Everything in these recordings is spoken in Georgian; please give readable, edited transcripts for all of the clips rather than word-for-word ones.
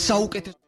საუკეთესო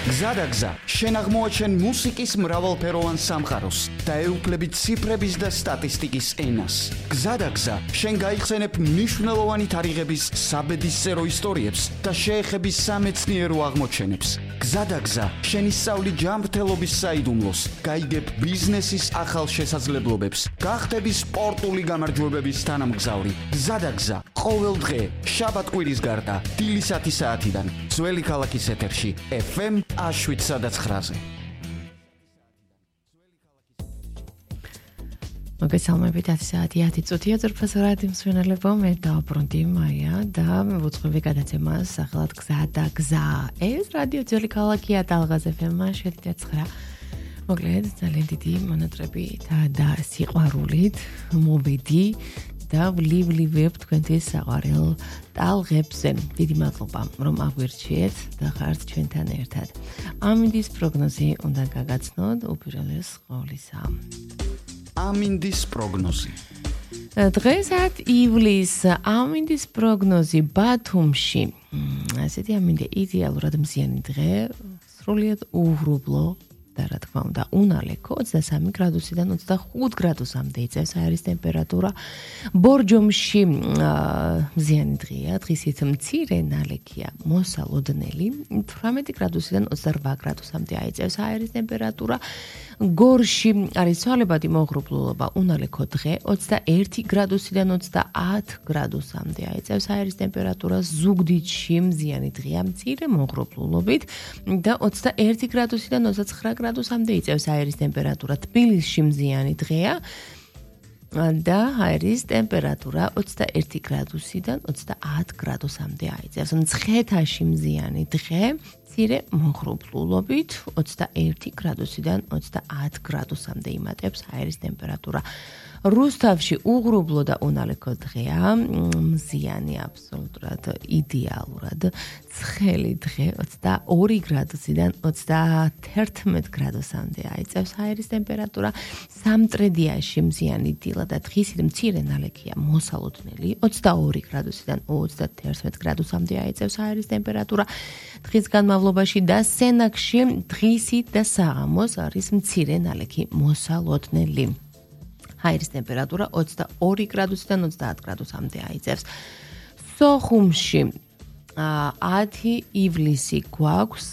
გზადაგზა შენ აღმოაჩენ მუსიკის მრავალფეროვან სამყაროს და ეუფლებით ციფრების და სტატისტიკის ენას. გზადაგზა შენ გაიხსენებ მნიშვნელოვანი თარიღების საბედისწერო ისტორიებს და შეეხები სამეცნიერო აღმოჩენებს. გზადაგზა შენ ისწავლი ჯანმრთელობის საიდუმლოს, გაიგებ ბიზნესის ახალ შესაძლებლობებს, გახდები სპორტული გამარჯვებების თანამგზავრი. გზადაგზა ყოველ დღე შაბათ-კვირის გარდა დილის 10 საათიდან ძველი ქალაქის ეთერში FM 7-9-ზე. მოგესალმებით 10 საათი 10 წუთია ძვირფასო რადიო მსმენელებო, მე დავბრუნდი მაია და ვუძღვები გადაცემას სახელად გზადაგზა. ეს რადიო ძველი ქალაქია ტალღაზ FM 7-9. მოკლედ ძალიან დიდი მონატრებით და სიყვარულით მოვედი და ვლივლებთ თქვენთვის საყვარელ ტალღებზე. დიდი მადლობა რომ აგვირჩიეთ და ხართ ჩვენთან ერთად. ამინდის პროგნოზი უნდა გაგაცნოთ უპირველეს ყოვლისა. ამინდის პროგნოზი. დღესაც ივლის ამინდის პროგნოზი ბათუმში. ასეთი ამინდა იდეალურად მზიანი დღე, სრულიად უღრუბლო და რა თქმა უნდა უნალექო 23 გრადუსიდან 25 გრადუსამდე იწევს აერის ტემპერატურა. ბორჯომში მზიანი დღეა, დღისით მცირე ნალექია, მოსალოდნელი 18 გრადუსიდან 28 გრადუსამდე აიწევს აერის ტემპერატურა. გორში არის ცვალებადი მოღრუბლულობა, უნალექო დღე 21 გრადუსიდან 30 გრადუსამდე აიწევს აერის ტემპერატურა. ზუგდიდში მზიანი დღეა, მცირე მოღრუბლულობით და 21 გრადუსიდან 29 გრადუსამდე იწევს აერის ტემპერატურა. თბილისში მზიანი დღეა და აერის ტემპერატურა 21 გრადუსიდან 30 გრადუსამდე აიწევს. მცხეთაში მზიანი დღე, მცირე მოღრუბლულობით 21 გრადუსიდან 30 გრადუსამდე იმატებს აერის ტემპერატურა. რუსთავში უღრუბლო და უნალექო დღეა, მზიანი აბსოლუტურად იდეალურად ცხელი დღე 22 გრადუსიდან 31 გრადუსამდე აიწევს აერის ტემპერატურა. სამტრედიაში მზიანი დილა და დღისით მცირე ნალექია, მოსალოდნელი 22 გრადუსიდან 31 გრადუსამდე აიწევს აერის ტემპერატურა. დღის განმავლობაში და სენაკში დღისით და საღამოს არის მცირე ნალექი, მოსალოდნელი. აერის ტემპერატურა 22 გრადუსიდან 30 გრადუსამდე აიწევს. სოხუმში 10 ივლისი გვაქვს,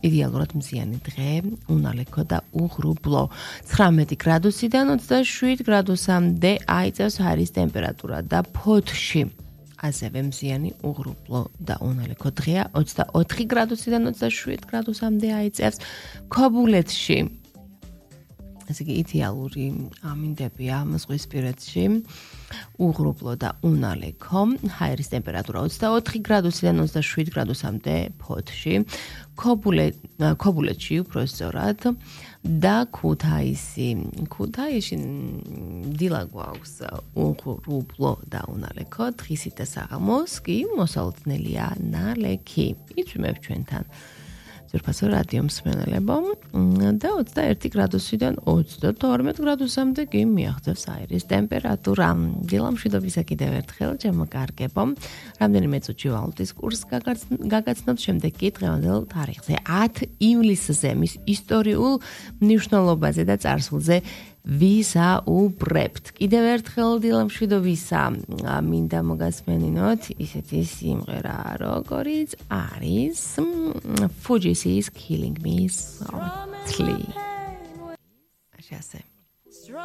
იდეალურად მზიანი დღე, უნალექო და უღრუბლო. 19 გრადუსიდან 27 გრადუსამდე აიწევს აერის ტემპერატურა და ფოთში ასევე მზიანი, უღრუბლო და უნალექო დღეა, 24 გრადუსიდან 27 გრადუსამდე აიწევს. ქობულეთში ესე იგი იდეალური ამინდებია ზღვისპირეთში, უღრუბლო და უნალექო, აერის ტემპერატურა 24 გრადუსიდან 27 გრადუსამდე ფოთში, ქობულეთში უფრო სწორად და ქუთაისში დილა გვაქვს უღრუბლო და უნალექო, დღისით და საღამოს კი მოსალოდნელია ნალექი. იწვიმებ ჩვენთან ძვირფასო რადიო მსმენელებო და 21 გრადუსიდან 32 გრადუსამდე კი მიაღწევს აერის ტემპერატურა. დილამშვიდობისა კიდევ ერთხელ ჩემო კარგებო. რამდენიმე წუთში ვალუტის კურსს გაგაცნობთ, შემდეგ კი დღევანდელ თარიღზე 10 ივლისზე მის ისტორიულ მნიშვნელობაზე და წარსულზე ვისაუბრებთ. კიდევ ერთხელ დილამშვიდობისა მინდა მოგასმენინოთ ისეთი სიმღერა, როგორიც არის Fugees is Killing Me Softly. ასე.